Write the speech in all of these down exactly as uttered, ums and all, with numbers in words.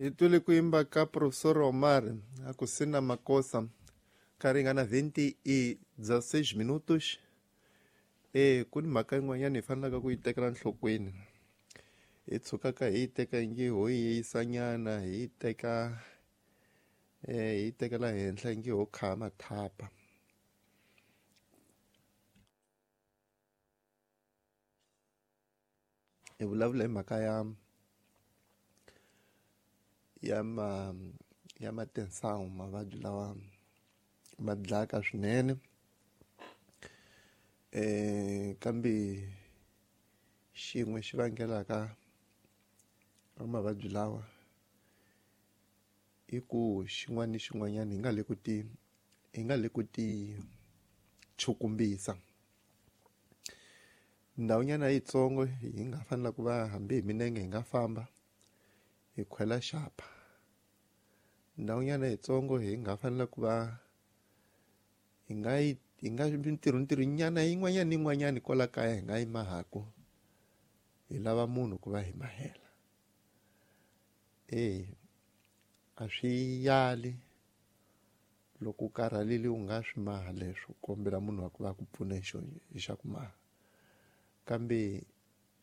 Hi twile ku yimba ka Professor Omar a ku sina makosa ka ringana vinte e dezesseis minutos. E ku ni mhaka yin'wanyana hi fanelaka ku yi tekela enhlokweni, hi tshukaka hi yi teka ingi ho yi yisanyana, hi yi teka eh hi yi tekela henhla ingi ho kha mathapa. Hi vulavula hi mhaka ya ya ma ya matensawu, mavabyi lawa ma dlaka swinene, eh kambe xin'we xi vangelaka mavabyi lawa i ku xin'wana ni xin'wanyana hi nga le ku ti hi nga le ku ti chukumbisa. Ndhawunyana yitsongo hi nga fanela ku va hambi hi minenge hi nga famba hi khwela xapa. Ndhawunyana yitsongo hi nga fanela ku va hi nga yi hi nga mintirho ntirho nyana yin'wanyana ni yin'wanyana kwala kaya hi nga yi mahaku hi lava munhu ku va hi mahela. E a swi yali loko u karhalile u nga swi maha leswo kombela munhu wa ku va ku pfuna hi xo hi xa ku maha, kambe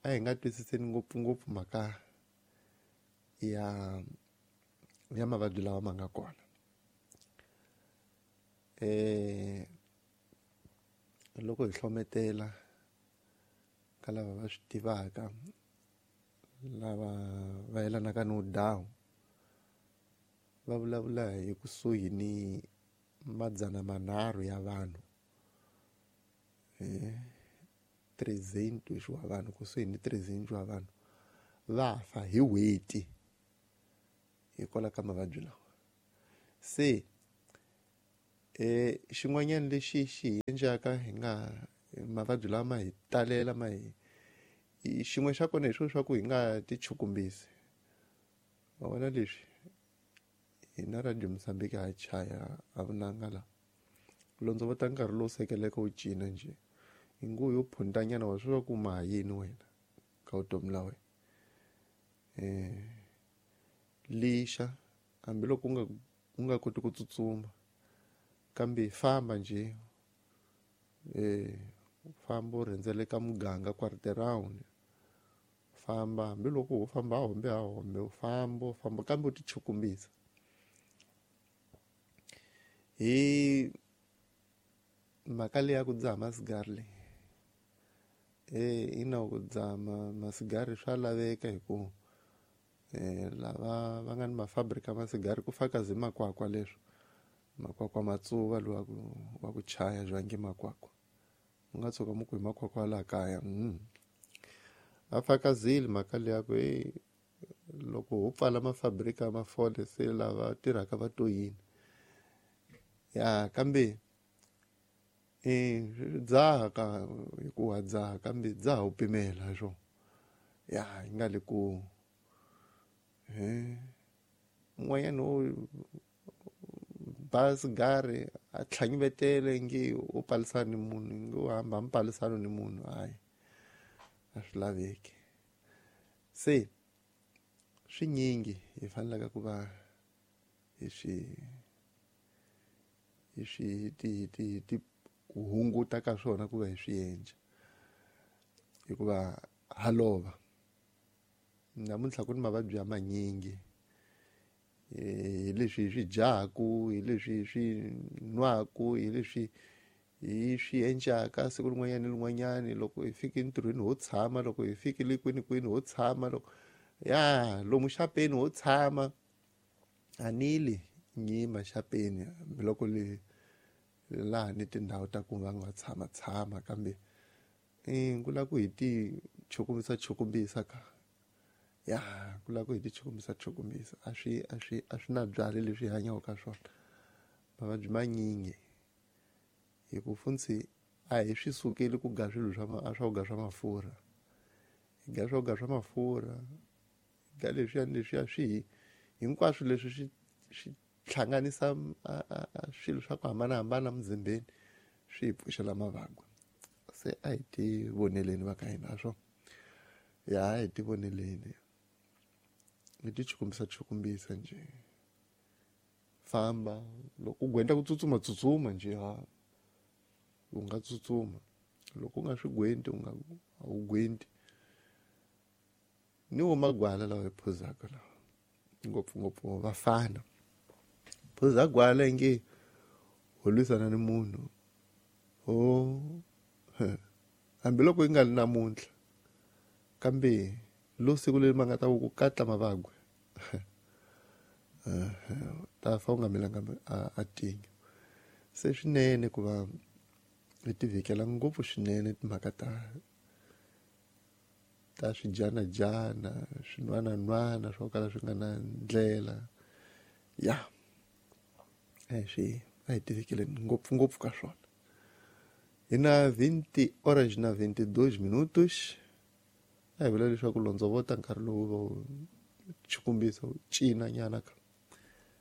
a hi nga twisiseni ngopfungopfu mhaka ya ya mavabyi lawa ma nga kona. Eh loko hi hlometela ka lava va swi tivaka, lava va yelanaka ni vudawu, va vulavula hi kusuhi ni madzana manharhu ya vanhu, eh trezentos wa vanhu, kusuhi ni trezentos wa vanhu va fa hi n'hweti hikwalaho ka mavabyi lawa. Se eh xin'wanyana lexi xi hi endlaka hi nga mavabyi lawa ma hi talela ma hi xin'we xa kona hi swona swa ku hi nga ti chukumbisi. Ma vona leswi hina Radio Mozambique ha chaya a vunanga la londzovota nkarhi lowu sekeleka wu cina njhe hi nguva yo phundanyana wa swi va ku ma yini wena ka vutomi la wena. Eh lixa hambiloko u nga u nga koti ku tsutsuma kambe famba njhe, eh famba u rhendzeleka muganga quarter-round, famba hambiloko u famba a hombe a hombe u famba u famba kambe u ti chukumbisa. Hi mhaka leyi ya ku dzaha masigari leyi, eh ina ku dzaha masigari swa laveka hi ku eh lava va nga ni mafabrika masigari ku fakazi makwakwa leswo makwakwa matsuva lowa ku wa ku chaya jwange makwakwa u nga tshuka mu ku hi makwakwa laha kaya. Mm. A fakazile mhaka leyi ya ku e loko ho pfala mafabrika mafole se lava tirhaka va to yini ya, kambe e dzaha ka hi ku wa dzaha kambe dzaha u pimela swo ya yi nga le ku eh un'wanyana u ba sigari a tlhanyivetele nge u palisana ni munhu nge u hamba mi palisana ni munhu, hayi a swi laveki. Se swinyingi hi fanelaka ku va hi swi hi swi ti ti ti hunguta ka swona ku va hi swi endla hikuva ha lova. Namuntlha ku ni mavabyi ya manyingi hi leswi hi swi dyaku, hi leswi hi swi nwaku, hi leswi hi swi endlaka siku rin'wanyana ni rin'wanyana. Loko hi fika entirhweni ho tshama, loko hi fikile kwini kwini ho tshama, loko ya lomu xapeni ho tshama a nili nyima xapeni hambiloko le laha ni tindhawu ta ku va nga tshama tshama, kambe i ku lava ku hi ti chukumbisa chukumbisa ka ya ku lava ku hi ti chukumbisa chukumbisa a swi a swi a swi na byali leswi hi hanyaka ka swona. Mavabyi manyingi hi ku funtsi a hi swi sukeli ku ga swilo swa swa ku ga swa mafurha, hi ga swa ku ga swa mafurha, hi ga leswiya ni leswiya swi hi hinkwaswo leswi swi swi hlanganisa swilo swa ku hambanahambana muzimbeni swi hi pfuxela mavabyi. Se a hi ti voneleni va ka hina swo ya, a hi ti voneleni. Ni ti chukumbisa chukumbisa njhe famba loko u gwenta ku tsutsuma tsutsuma njhe ha u nga tsutsuma loko u nga swi gwenti u nga a wu gwenti ni wo magwala lawa hi phuzaka lawa ngopfungopfu vafana phuza gwala i nge ho lwisana ni munhu ho hambiloko yi nga ri namuntlha kambe lo siku leri ma nga ta ku katla mavagwe ta fa u nga milanga a tinyo se swinene ku va hi ti vhikela ngopfu swinene timhaka ta ta swijanajana swin'wanan'wana swo kala swi nga na ndlela ya a hi swi a hi ti vhikeleni ngopfungopfu ka swona hi na vinte horas na vinte e dois minutos a hi vula leswaku londzovota nkarhi lowu va wu chukumbisa wu cina nyana ka.